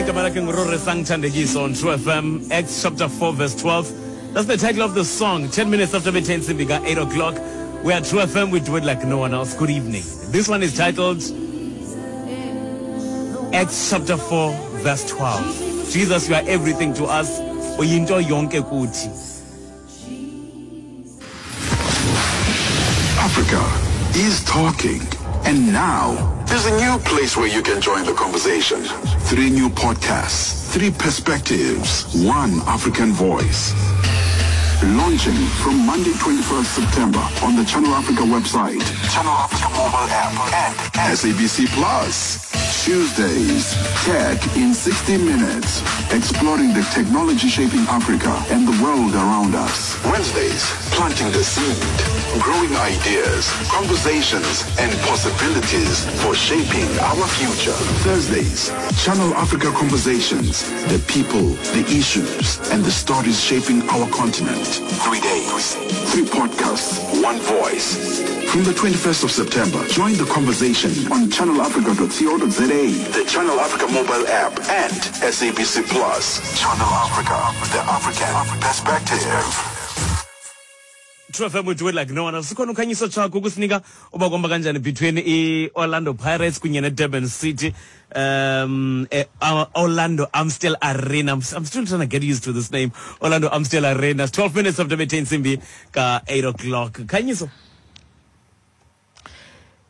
Igama lakhe nguRorisang Thandekiso on True FM, Acts chapter 4 verse 12. That's the title of the song. 10 minutes after 10 Simbika, 8 o'clock. We are True FM, we do it like no one else. Good evening. This one is titled Acts chapter 4 verse 12. Jesus, you are everything to us. Uyinto yonke kuthi. Africa is talking. And now, there's a new place where you can join the conversation. Three new podcasts, three perspectives, one African voice. Launching from Monday, 21st September on the Channel Africa website, Channel Africa mobile app, and SABC Plus. Tuesdays, Tech in 60 Minutes, exploring the technology shaping Africa and the world around us. Wednesdays, planting the seed, growing ideas, conversations, and possibilities for shaping our future. Thursdays, Channel Africa Conversations, the people, the issues, and the stories shaping our continent. Three days, three podcasts, one voice. From the 21st of September, join the conversation on channelafrica.co.za, the Channel Africa mobile app, and SABC Plus. Channel Africa, the African perspective. True FM we do it like no one else. Sikhona uKhanyiso Chako ukusinika uba kuhamba kanjani between i-Orlando Pirates kunye ne-Durban City. Um eh, Orlando Amstel Arena. I'm, I'm still trying to get used to this name. Orlando Amstel Arena. It's 12 minutes after bethe intsimbi ka 8 o'clock. Khanyiso.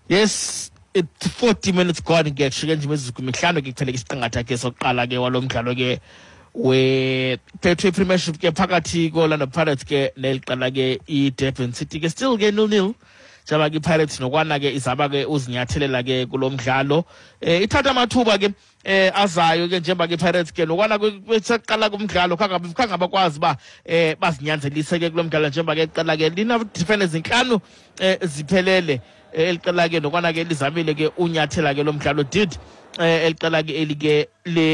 Yes, it's 40 minutes gone ke kushiyeke nje imizuzu mihlanu ke kuphele isiqingatha ke sokuqala ke walo mdlalo ke we-Betway Premiership ke phakathi ko-Orlando Pirates ke neli qela ke i-Durban City ke still ke 0-0 njengoba ke i-Pirates nokwana ke izama ke uzinyathelela ke kulo mdlalo eh ithatha amathuba ke eh azayo ke njengoba ke i-Pirates ke nokwana besaqala kumdlalo khangabe khangabakwazi uba eh bazinyanzelise ke kulo mdlalo njengoba ke iqela ke lina defenders zintlanu eh ziphelele eh, eli qela ke nokwana ke lizamile ke unyathela ke lo mdlalo did eh eli qela ke eli ke le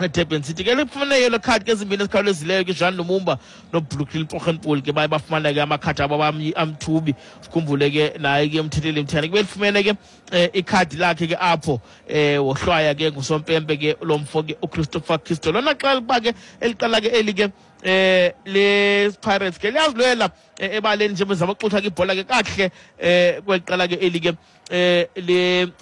Durban City ke lifumene yellow card ke ezimbini ezikhawulezileyo ke Jean Lumumba noBrooklyn Pochenpoel ke baye bafumana ke amakhadi abo amthubi sikhumbule ke naye ke umthetheli mthiyane kube lifumene ke eh, ikhadi lakhe ke apho eh wohlwaya ke ngusompempe ke lo mfo ke uChristopher Christo lona xa uba ke eliqala ke eli ke eh le Pirates ke liyazilwela eh, ebaleni nje bezama ukuxutha ke ibhola ke kakuhle eh kweli qela ke eli ke eh le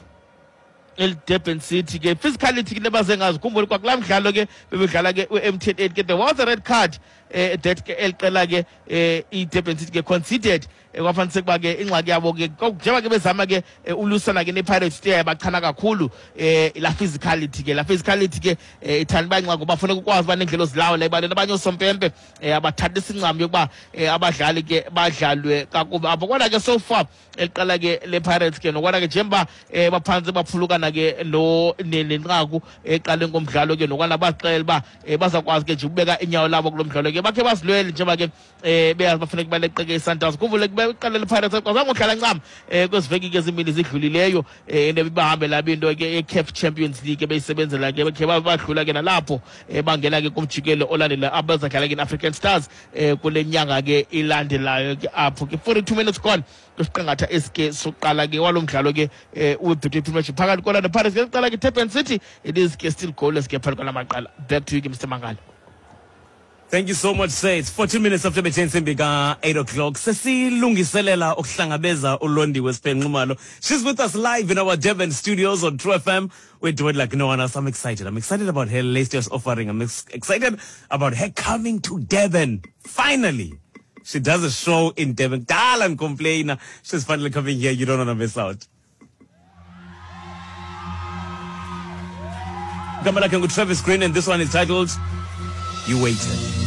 elidurban city ke physicality ke lebaze ngazo khumbule kwakulaa mdlalo ke bebedlala ke u-mtn 8 ke there was a red card eh, that ke eli qela ke eh, i-durban city ke conceded eh, kwafanise ukuba ke ingxaki yabo ke njengoba ke bezama ke eh, ulusana ke ne-pirates te bachana kakhulu eh, la physicality ke la physicality ke eh, ithanda uba ingxaki ngoba funeka ukwazi uba neendlela ozilawula ebaleni abanye oosompempe eh, abathatha isincam yokuba eh, abadlali ke badlalwe kakubi apho kodwa ke so far eliqala ke le-pirates ke nokwana ke njengoba um baphantse baphulukana ke no nenqaku eqaleni komdlalo ke nokwana baxela uba um bazawukwazi ke nje ukubeka inyawo labo kulo mdlalo ke bakhe bazilwele njengoba ke um beyazi bafuneka baleqeke i-sundowns khumbule iqala le-pirates akwazanga udlala ncam um kwezi veki ke zimbini zidlulileyo um into ebibahambela into ke ye-caf champions league ebeyisebenzela ke bakhe badlula ke nalapho um bangena ke kumjikelo olandela abazadlala ke ne-african stars um kule nyanga ke ilandelayo ke apho ke 42 minutes gone kwisiqingatha esike sokuqala ke walo mdlalo ke um webetway premiership phakathi kolanda pirates ke kuqala ke durban city it is ke still goalless ke phakathi kwala maqala back to you ke mr mangala Thank you so much sir. It's 14 minutes after bethe intsimbi ka-8 o'clock. Sesilungiselela ukuhlangabeza uLondiwe Siphenxumalo. She's with us live in our Durban studios on True FM. We do it like no one else. I'm excited. I'm excited about her latest offering. I'm ex excited about her coming to Durban. Finally. She does a show in Durban. Kudala ndicomplaina. She's finally coming here. You don't want to miss out. Igama lakhe nguTravis Green and this one is titled You Waited.